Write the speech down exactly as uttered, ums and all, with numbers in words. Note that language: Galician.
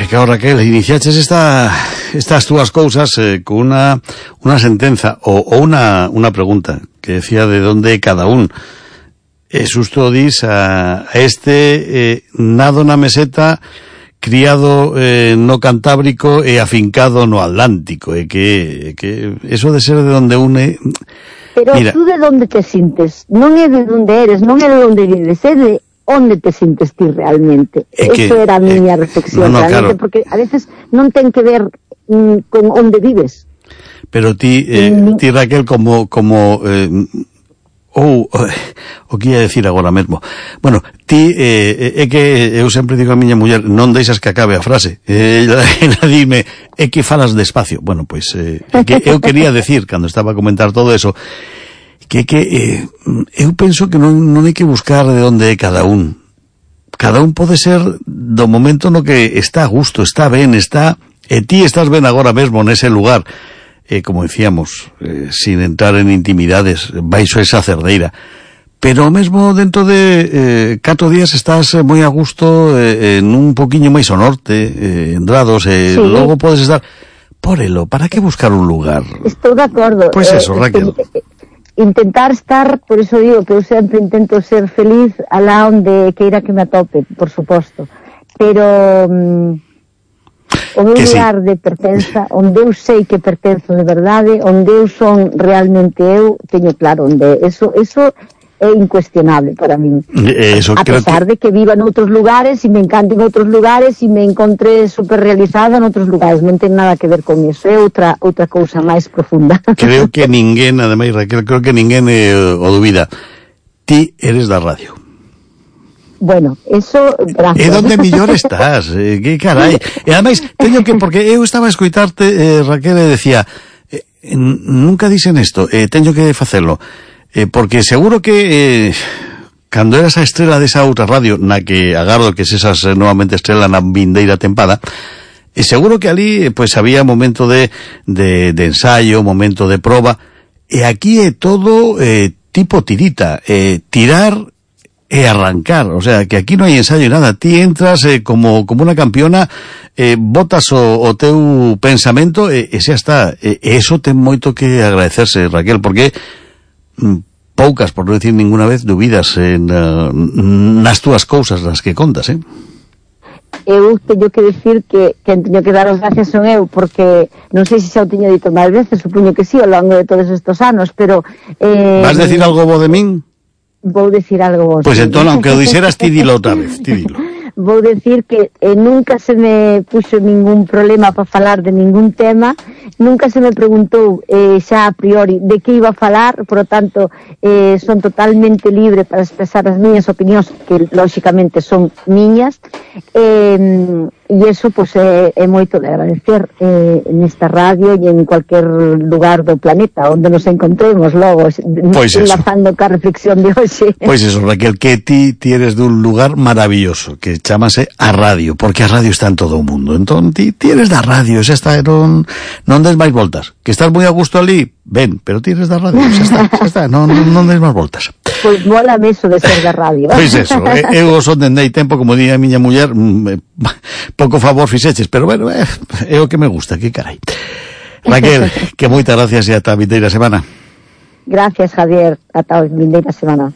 claro, Raquel, iniciaches esta, estas túas cousas eh, con una, una sentenza o, o una, una pregunta que decía de dónde cada un. E susto dis a, a este eh, nado na meseta, criado eh, no Cantábrico e afincado no Atlántico, e que, que eso de ser de donde une... Pero Mira, tú de donde te sintes, non é de donde eres, non é de donde vives, é de onde te sintes ti realmente. É que, eso era a miña eh, reflexión, no, no, realmente, claro. porque a veces non ten que ver mm, con onde vives. pero ti, eh, Mm. ti Raquel, como, como, eh, ou, o que ia decir agora mesmo, bueno, ti, eh, é que eu sempre digo a miña muller, non deixas que acabe a frase, eh, ela, ela dime, é que falas despacio, bueno, pois, eh, é que eu quería decir, cando estaba a comentar todo eso, que que eh, eu penso que non, non hai que buscar de onde é cada un. Cada un pode ser do momento no que está a gusto, está ben, está, e ti estás ben agora mesmo nese lugar, eh, como decíamos, eh, sin entrar en intimidades, baixo esa cerdeira. Pero mesmo dentro de eh, catro días estás moi a gusto eh, en un poquiño máis ao norte, eh, en Drados, e eh, Sí. logo podes estar... Porelo, para que buscar un lugar? Estou de acordo. Pois eso, Raquel. Eh, intentar estar, por eso digo que eu sempre intento ser feliz alá onde queira que me atope, por suposto. Pero mm, o meu Que sí. lugar de pertenza, onde eu sei que pertenzo de verdade, onde eu son realmente eu, teño claro onde. Eso, eso é incuestionable para min. Eh, eso A creo pesar que... de que viva en outros lugares e me encante en outros lugares e me encontré super realizada en outros lugares, non ten nada que ver con eso, é outra outra cousa máis profunda. Creo que ninguén, ademais, Raquel, creo que ninguén eh, o dubida. Ti eres da radio. Bueno, eso, gracias. E donde millor estás, eh, que carai. E ademais, teño que, porque eu estaba a escoitarte, eh, Raquel, e decía, eh, nunca dicen isto, eh, teño que facelo. Eh, porque seguro que eh, cando eras a estrela desa outra radio, na que agardo que sesas eh, novamente estrela na vindeira tempada, e seguro que ali pues había momento de, de, de ensayo, momento de proba, e aquí é todo eh, tipo tirita, eh, tirar e arrancar, o sea, que aquí non hai ensayo e nada, ti entras eh, como, como unha campeona, eh, botas o, o teu pensamento e, e xa está, e, e eso ten moito que agradecerse, Raquel, porque poucas, por non decir ninguna vez, dubidas en, uh, nas túas cousas nas que contas, eh? Eu teño que decir que quen teño que dar as gracias son eu, porque non sei se xa o teño dito máis veces, supoño que sí, ao longo de todos estes anos, pero... Eh, Vas decir algo bo de min? Vou decir algo bo. Pois pues entón, aunque o dixeras, ti dilo outra vez, ti dilo. Vou decir que eh, nunca se me puxo ningún problema para falar de ningún tema, nunca se me preguntou eh, xa a priori de que iba a falar, por lo tanto eh, son totalmente libre para expresar as miñas opinións, que lóxicamente son miñas, eh, e eso pues, é, é moito de agradecer eh, nesta radio e en cualquier lugar do planeta onde nos encontremos logo, pues enlazando ca reflexión de hoxe. Pois pues eso, Raquel, que ti tienes dun lugar maravilloso, que chámase a radio, porque a radio está en todo o mundo. Entón, ti tienes da radio, xa está, non, non des máis voltas. Que estás moi a gusto ali, ben, pero tienes da radio, xa está, xa está, non, non, non des máis voltas. Pois mola meso de ser da radio. Pois eso, eu son dendei tempo, como di a miña muller, pouco favor fixeches, pero bueno, é, é o que me gusta, que carai. Raquel, que moitas gracias e ata a vindeira semana. Gracias, Javier, ata a vindeira semana.